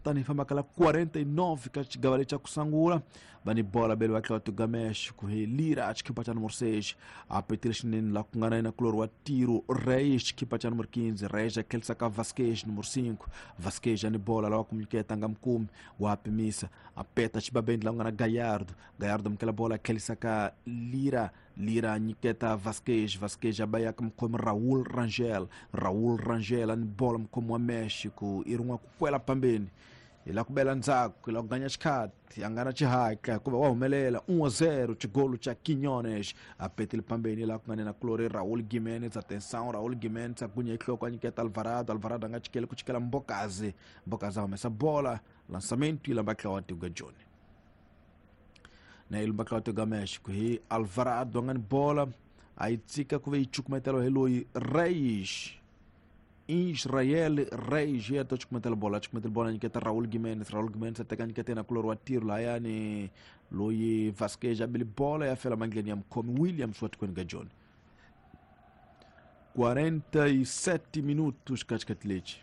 Tani hi fambaka la 49 ka xigava lexi xa ku sungula va ni bola bele va tlhela tuga México hi Lira xikhipa xa numero 6 a petile xinene la ku nga na yena kulori wa Tiro Reis xikhipa xa numero 15 Reis a tlhelisa ka Vasquez numero 5 Vasquez a ni bola lava ku nyiketa nga mukumi wa pimisa a peta xibabeni la ku nga na Gallardo Gallardo amukela bola a tlhelisa ka Lira Lira nyiketa Vasquez Vasquez a bayaka mukhomi Raul Rangel Raul Rangel a ni bola mukhomi wa Mexico i rin'wa ku kwela pambeni hi la ku bela ndzhaku hi la ku ganya xikhati a nga na xihatla hikuva wa humelela 1-0 xigolo xa Quiñones a petile pambeni laha ku nga nena kulori Raul Gimenez atenção Raul Gimenez a gunya nhloko a nyiketa Alvarado Alvarado a nga chikeli ku chikela Mbokazi Mbokazi a humesa bola lançamento yi lamba tlawa Tiga Joni na yi lumba tlawa Tiga México hi Alvarado a nga ni bola a yi tshika ku ve yi cukumetela hi loyi Reis Israel Reis ya to cukumetela bola cukumetela bola nyiketa Raul Gimenez Raul Gimenez a teka nyiketa yena kulori wa tiro lahayani loyi Vasquez a bile bola ya fela mandleni ya mukhomi Williams wa tikweni ka Joni 47 minutos ka xikati lexi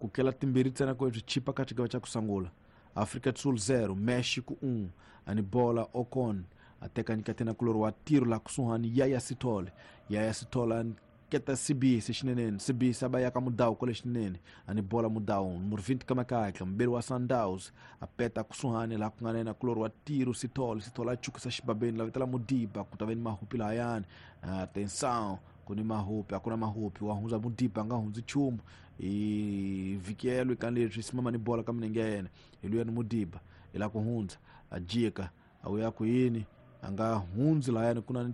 ku kela timbirhi ntsena ku swi chipa ka xigava xa ku sungula Afrika do Sul 0 México 1 ani bola Ocon a teka nyiketa yena kulori wa tiro la kusuhani Yaya Sithole Yaya Sithole keta Sibisi xineneni Sibisi a va yaka Mudau kwale xineneni ani bola Mudau numero 20 ka makatla muberi wa Sundowns a peta kusuhani laha ku nga na yena kulori wa tiro Sithole Sithole a chukisa xibabeni la vitela Mudiba ku ta ve ni mahupi lahayani atenção ku ni mahupi a ku na mahupi wa hundza Mudiba a nga hundzi nchumu i vhikelo eka leswi simama ni bola ka milenge ya yena hi luya ni Mudiba i la ku hundza a jika a wuya ku yini a nga hundzi lahayani ku na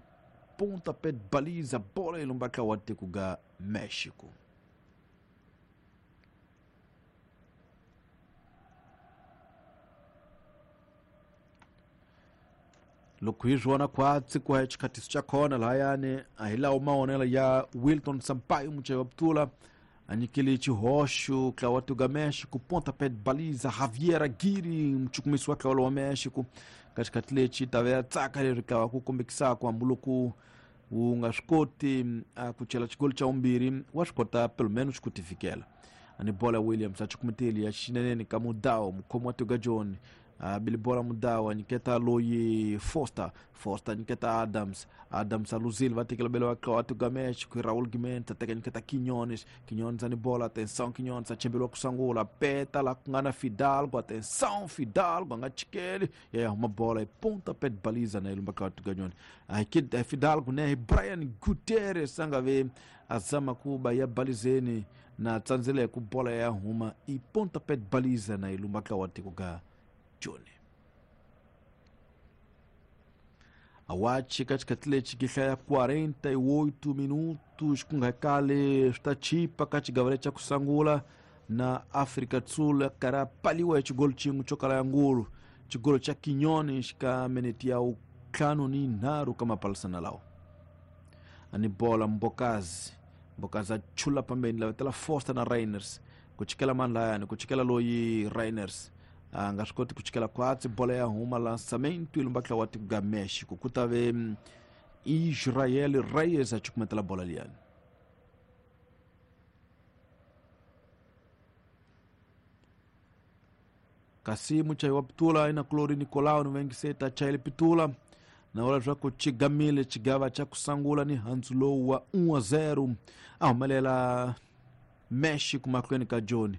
pontapé de baliza bola yi lumba wa tiko ga México loko hi swi vona khwatsi ku ya xikhatiso xa khona lahayani a hi lawo mavonelo ya Wilton Sampaio muchayeri wa putula a nyikele xihoxo ntlawa wa tiko México pontapé de baliza Javier Aguirre muchukumisi wa ntlawa wa México ka xikhathi lexi ta ve ya tsaka leri ntlawa ku kombekisaka hambiloko wu nga swi koti a ku chela xigolo xa vumbirhi wa swi kota pelo menos ku tifikela ani bola Williams a chukumeteli ya xineneni ka Mudau mukhomi wa tiko John a bile bola Mudau a nyiketa loyi Foster Foster nyiketa Adams Adams a luzile va tekela bele wa tiko México Raul Gimenez a teka nyiketa Quiñones Quiñones ani bola atenção Quiñones a chembeliwa ku sungula peta la ku nga na Fidalgo atenção Fidalgo a nga chikeli ya huma bola hi pontapé de baliza na ilumba ka tiko John a Fidalgo ne Brian Gutierrez a nga ve a zama ku ba ya balizeni na tsandzele ku bola ya huma i pontapé de baliza na ilumba ka wa tiko ga Joni awachi ka xikhathi lexi ki hlaya 48 minutos ku nga kale swi ta chipa ka xigava lexi xa ku sungula na Afrika do Sul karhi a paliwa hi xigolo xin'we xo kala ya ngulu xigolo xa Quiñones ka minete ya ntlhanu ni nharhu ka mapalisana lawa ani bola Mbokazi Mbokazi a chula pambeni lavetela Foster na Rainers ku chikela mani layani ku chikela loyi Rainers a nga swi koti ku chikela khwatsi bola ya huma lançamento yi lumba wa tiko ga México ku ta ve Israel Reyes a cukumetela bola liyani kasi muchayi wa pitula ina kulori Nicolau ni vengiseta chayele pitula na vula leswaku xigamile xigava xa ku sungula ni handzu lowu wa 1-0 a humelela México mahlweni ka Joni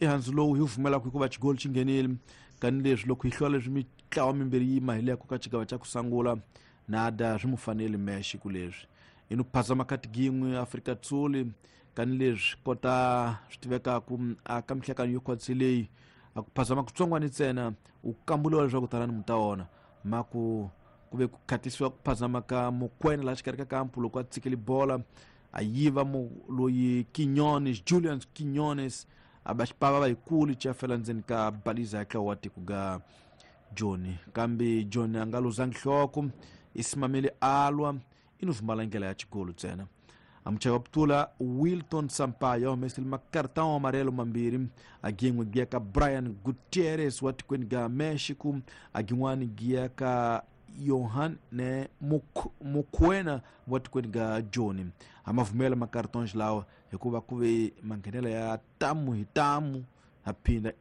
i handzu lowu hi wu pfumelaka hikuva xigolo xi nghenile kani leswi loko hi hlula leswi mitlawa mimbirhi yi mahileko ka xigava xa ku sungula nada swi mu faneli México leswi i no phazama kati gin'we Afrika Tsuli kani leswi kota swi tivekaku a ka mihlekano yo khwatsi leyi a ku phazama kutsongwani ntsena u kambuliwa leswaku talani mu ta wona ma ku ku ve ku khatisiwa ku phazama ka Mokwena laha xikarhi ka kampu loko a tshikele bola a yiva loyi Quiñones Julian Quiñones a ba xipava va yikulu xa fela ndzeni ka baliza ya ntlawa wa tiko ga Joni kambe Joni a nga luzangi nhloko i simamile alwa i no vumala ndlela ya xigolo ntsena amuchayi wa putula Wilton Sampaio a humesile makartão amarelo mambirhi a gin'we giya ka Brian Gutierrez wa tikweni ga Mexico a gin'wani giya ka Johan ne Mokwena wa tikweni ga Joni a ma vumela makartons lawa hikuva ku ve manghenela ya tamu hi tamu a phinda